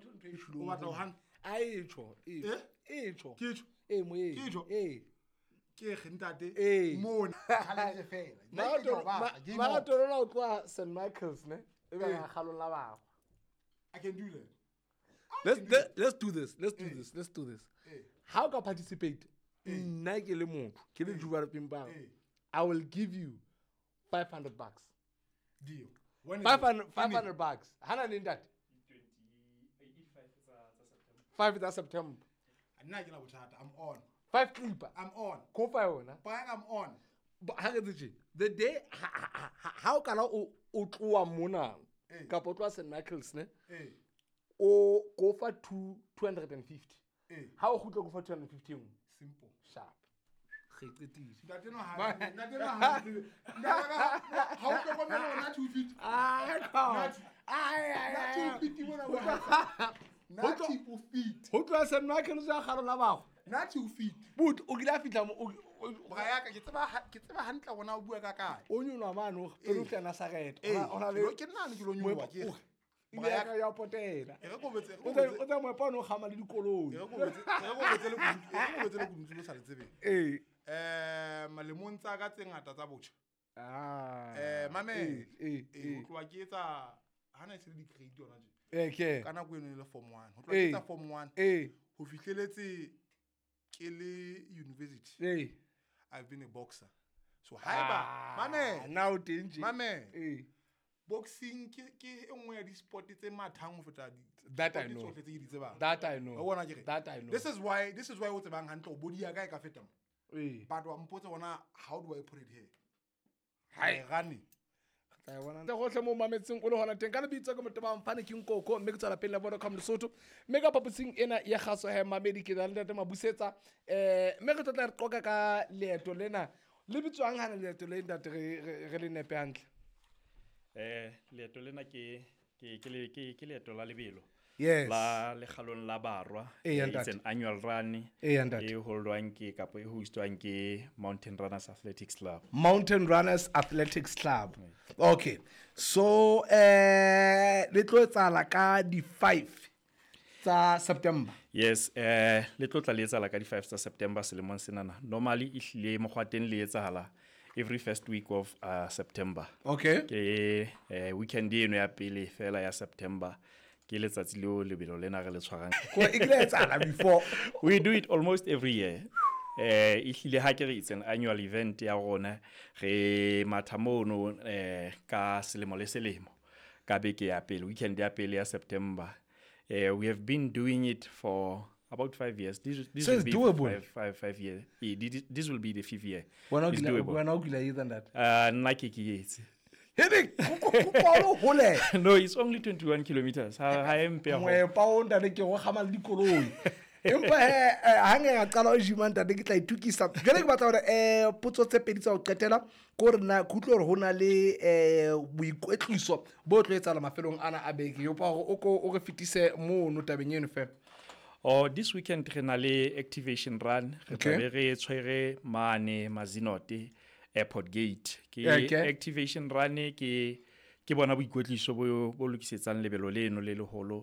ntho ntho e tjhulong. O batla ho hana? A e tjho, e Eh? e tjho. Ke tjho? E moyeng. Ke tjho? Ee. Ke re ntate Ee. mona challenge fela. Nna ke tla o batla, game on. Maratona o tloha St Michael's ne? E ba Ee. kgalong la bagwa. I can do that. Let's do this. Let's do this. Let's do this. Ee. Ha o ka participate, nna ke le motho, ke le Juba Pimpang. Ee. I will give you $500. Deal. When is it? 500 $500. Hana le ntate. 5 tsa September. Nna ke na bothata. I'm on. 5 clipper. I'm on. Ko fa yona. Bra, I'm on. Ha re tse tje, the day ha o kala o tloha mona Ee. kapa o tloha St Michael's ne, Ee. o ko fa 250. Ee. Ha o kgutla ko fa 250 e nngwe. Simple. Sharp. Re qetile. Ntate no ha ntate no ha ntate ha o hlokomele hore na 250. Ah, ai, ai, Na ai. 250 mona bo ha. Na 250. Ho tloha St Michael's ya kgalo la bagwa. Na 250. But o kile a fihla mo Bra ya ka ke tseba hantle hore na o bua ka kae. o nyoloha mane o pele o fihla Nazareth. Ee, O na le ke nna ne ke lo nyoloha ke re. Bra ya ka ya potela. E re ko botse, e re O ko tla botse. o tla moepa o no kgama le dikoloi. E re ko botse, e re ko botse le kunutu, e re ko botse le kunutu le sa le tsebeng. Ee. Malemong tsa ka tse ngata tsa botjha. Ah. Mamela. Ee, Ee, ho ee. tloha ke etsa hana e se le di-grade yona tje. Ee, ke. Ka nako eno e le form 1. Ho tloha ke Ee. etsa form 1 Ee. ho fihleletse ke le university. Ee. I've been a boxer. So haeba Ah, mamela, na o teng tje. mamela. Ee. Boxing ke e nngwe ya di-sport tse mathang ho feta di That I sport know. tsohle tse ke di tsebang. That I know. Wa bona ke re? That I know. This is why o tsebang hantle hore body ya ka e ka feta mo. Ee. But wa mpotsa hore how do I put it here? Hai. Rane. Tla e bona. Gohle mo mametseng o le hona teng ka lebitso ke motho ba mfane ke Nkoko mme ke tswela pele le Vodacom Lesotho mme ka phaposing ena ya kgaso he mamedi ke na le ntate Mabusetsa mme re tlo tla re qoqa ka leeto lena le bitswang hana leeto le ntate re le nepe hantle. Leeto lena ke leeto la lebelo. Yes. La lekgalong la barwa. Ee, It's ntate. an annual run. Ee, ntate. E holdwang ke kapa e hostwang ke Mountain Runners Athletics Club. Mountain Runners Athletics Club. Okay. So le tlo etsahala ka di 5 tsa September. Yes, le tlo tla le etsahala ka di 5 tsa September selemong senana. Normally e hlile mokgwa teng le etsahala every first week of September. Okay. Ke weekend eno ya pele fela ya September. Ke letsatsi leo lebelo lena re le tshwarang. Ko e kile ya etsahala before. We do it almost every year. E hlile ha ke re it's an annual event ya rona, re matha mono ka selemo le selemo ka beke ya pele, weekend ya pele ya September. We have been doing it for about 5 years. This So will it's be doable. Five years. This will be the 5th year. Wena o It's kile doable. wena o kile etsa ntate. Nna ke etse. Hebe ko hole. No, it's only 21 kilometers. Ha e mpe haholo. Moepa o ntate ke go kgama le dikoloi. Empa he ha nka ka qala o gym ntate ke tla itukisa. Jwale ke batla hore potso tse pedi tsa ho qetela ke hore na ke utlwe hore ho na le boikwetliso bo tlo etsahala mafelong ana a beke. Ke kopa hore o ko o re fetise mono tabeng eno fela. Oh, this weekend re na le activation run. Re Okay. tla be re tshwere mane Mazinote Airport Gate. Ke Okay. activation run ke bona boikwetliso bo lokisetsang lebelo leno le leholo.